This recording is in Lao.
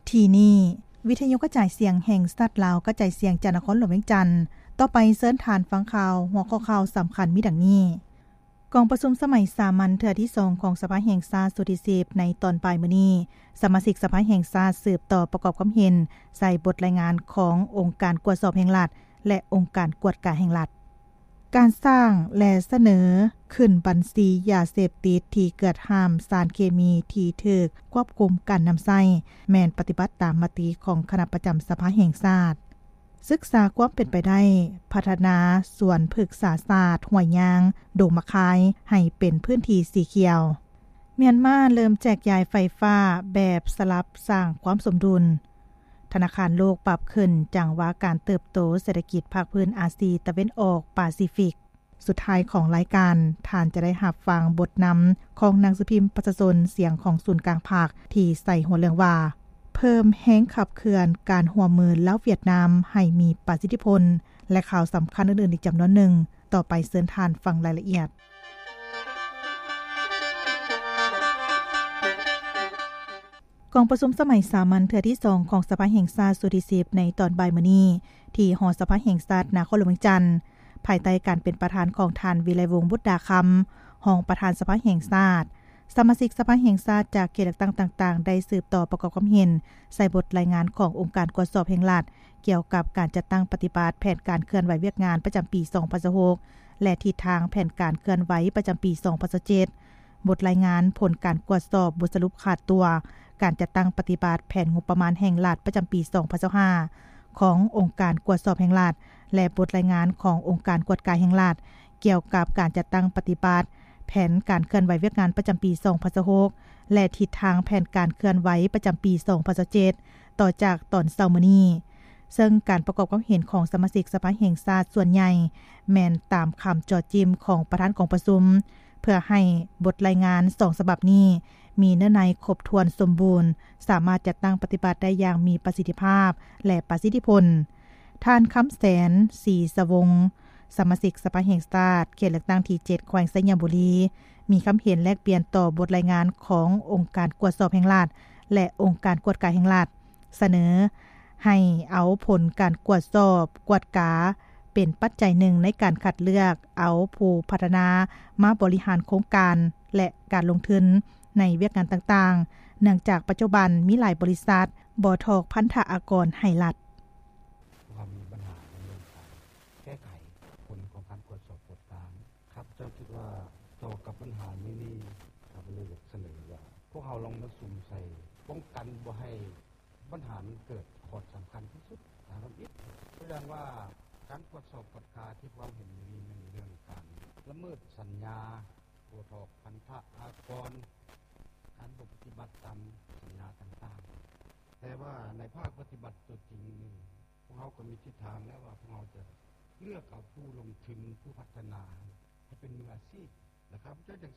ທີ່ນີ້ ວິທະຍຸກະຈາຍສຽງແຫ່ງຊາດລາວ ກະຈາຍສຽງຈາກນະຄອນຫຼວງວຽງຈັນ. ຕໍ່ໄປເຊີນທ່ານຟັງຂ່າວ ຫົວຂໍ້ຂ່າວສຳຄັນມີດັ່ງນີ້: ກອງປະຊຸມສະໄໝສາມັນເທື່ອທີສອງຂອງສະພາແຫ່ງຊາດຊຸດທີສິບ ໃນຕອນບ່າຍມື້ນີ້, ສະມາຊິກສະພາແຫ່ງຊາດສືບຕໍ່ປະກອບຄວາມເຫັນໃສ່ບົດລາຍງານຂອງອົງການກວດສອບແຫ່ງລັດ ແລະ ອົງການກວດກາແຫ່ງລັດ. ການສ້າງ ແລະ ສະເໜີຂຶ້ນບັນຊີຢາເສບຕິດທີ່ເກືອດຫ້າມ, ສານເຄມີທີ່ຖືກຄວບຄຸມການນຳໃຊ້ ແມ່ນປະຕິບັດຕາມມະຕິຂອງຄະນະປະຈຳສະພາແຫ່ງຊາດ. ສຶກສາຄວາມເປັນໄປໄດ້ພັດທະນາສວນພຶກສາສາດຫ້ວຍຍາງ ດົງໝາກຄາຍ ໃຫ້ເປັນພື້ນທີ່ສີຂຽວ. ມຽນມາເລີ່ມແຈກຢາຍໄຟຟ້າແບບສະຫຼັບ ສ້າງຄວາມສົມດຸນ. ທະນາຄານໂລກປັບຂຶ້ນຈັງຫວະການເຕີບໂຕເສດຖະກິດພາກພື້ນອາຊີຕາເວັນອອກປາຊີຟິກ. ສຸດທ້າຍຂອງລາຍການ, ທ່ານຈະໄດ້ຮັບຟັງບົດນຳຂອງໜັງສືພິມປະຊາຊົນ ສຽງຂອງສູນກາງພັກ ທີ່ໃສ່ຫົວເລື່ອງວ່າ ເພີ່ມແຮງຂັບເຄື່ອນການຮ່ວມມືລາວ-ຫວຽດນາມໃຫ້ມີປະສິດທິຜົນ ແລະ ຂ່າວສຳຄັນອື່ນໆອີກຈຳນວນໜຶ່ງ. ຕໍ່ໄປເຊີນທ່ານຟັງລາຍລະອຽດ. ກອງປະຊຸມສະໄໝສາມັນເທື່ອທີສອງຂອງສະພາແຫ່ງຊາດຊຸດທີສິບ ໃນຕອນບ່າຍມື້ນີ້ ທີ່ຫໍສະພາແຫ່ງຊາດນະຄອນຫຼວງວຽງຈັນ, ພາຍໃຕ້ການເປັນປະທານຂອງທ່ານ ວິໄລວົງ ບຸດດາຄຳ ຮອງປະທານສະພາແຫ່ງຊາດ, ສະມາຊິກສະພາແຫ່ງຊາດຈາກເຂດເລືອກຕັ້ງຕ່າງໆ ໄດ້ສືບຕໍ່ປະກອບຄວາມເຫັນໃສ່ບົດລາຍງານຂອງອົງການກວດສອບແຫ່ງລັດ ກ່ຽວກັບການຈັດຕັ້ງປະຕິບັດແຜນການເຄື່ອນໄຫວວຽກງານປະຈຳປີສອງພັນຊາວຫົກ ແລະ ທິດທາງແຜນການເຄື່ອນໄຫວປະຈຳປີສອງພັນຊາວເຈັດ, ບົດລາຍງານຜົນການກວດສອບບົດສະຫຼຸບຂາດຕົວການຈັດຕັ້ງປະຕິບັດແຜນງົບປະມານແຫ່ງລັດປະຈຳປີສອງພັນຊາວຫ້າ ຂອງອົງການກວດສອບແຫ່ງລັດ ແລະ ບົດລາຍງານຂອງອົງການກວດກາແຫ່ງລັດ ກ່ຽວກັບການຈັດຕັ້ງປະຕິບັດແຜນການເຄື່ອນໄຫວວຽກງານປະຈຳປີສອງພັນຊາວຫົກ ແລະ ທິດທາງແຜນການເຄື່ອນໄຫວປະຈຳປີສອງພັນຊາວເຈັດ ຕໍ່ຈາກຕອນເຊົ້າມື້ນີ້. ເຊິ່ງການປະກອບຄວາມເຫັນຂອງສະມາຊິກສະພາແຫ່ງຊາດສ່ວນໃຫຍ່ ແມ່ນຕາມຄຳເຈາະຈິ້ມຂອງປະທານກອງປະຊຸມ ເພື່ອໃຫ້ບົດລາຍງານສອງສະບັບນີ້ມີເນື້ອໃນຄົບຖ້ວນສົມບູນ, ສາມາດຈັດຕັ້ງປະຕິບັດໄດ້ຢ່າງມີປະສິດທິພາບ ແລະ ປະສິດທິຜົນ. ທ່ານ ຄຳແສນ ສີສະວົງ ສະມາຊິກສະພາແຫ່ງຊາດ ເຂດເລືອກຕັ້ງທີເຈັດ ແຂວງໄຊຍະບູລີ ມີຄຳເຫັນແລກປ່ຽນຕໍ່ບົດລາຍງານຂອງອົງການກວດສອບແຫ່ງລັດ ແລະ ອົງການກວດກາແຫ່ງລັດ ສະເໜີໃຫ້ເອົາຜົນການກວດສອບກວດກາເປັນປັດໄຈໜຶ່ງໃນການຄັດເລືອກເອົາຜູ້ພັດທະນາມາບໍລິຫານໂຄງການ ແລະ ການລົງທຶນໃນວຽກງານຕ່າງໆ, ເນື່ອງຈາກປັດຈຸບັນມີຫຼາຍບໍລິສັດບໍ່ຖອກພັນທະອາກອນໃຫ້ລັດ. ພວກເຮົາມີບັນຫາໃນເລື່ອງການແກ້ໄຂຜົນຂອງການກວດສອບກວດກາ. ຂ້າພະເຈົ້າຄິດວ່າຕໍ່ກັບບັນຫານີ້ນີ້ ຂ້າພະເຈົ້າເລີຍຢາກສະເໜີວ່າ ພວກເຮົາລອງມາສຸມໃສ່ປ້ອງກັນບໍ່ໃຫ້ບັນຫາມັນເກີດ. ຂໍ້ສຳຄັນທີ່ສຸດ ຖາມອີກ ຕົວຢ່າງວ່າການກວດສອບກວດກາທີ່ພວກເຮົາເຫັນຢູ່ນີ້ແມ່ນເລື່ອງການລະເມີດສັນຍາ ບໍ່ຖອກພັນທະອາກອນ ການບໍ່ປະຕິບັດຕາມສັນຍາຕ່າງໆ. ແຕ່ວ່າໃນພາກປະຕິບັດຕົວຈິງນີ້ ພວກເຮົາກໍມີທິດທາງແລ້ວວ່າ ພວກເຮົາຈະເລືອກເອົາຜູ້ລົງທຶນ ຜູ້ພັດທະນາໃຫ້ເປັນມືອາຊີບ ແລະ ຂ້າພະເຈົ້າຢາກສ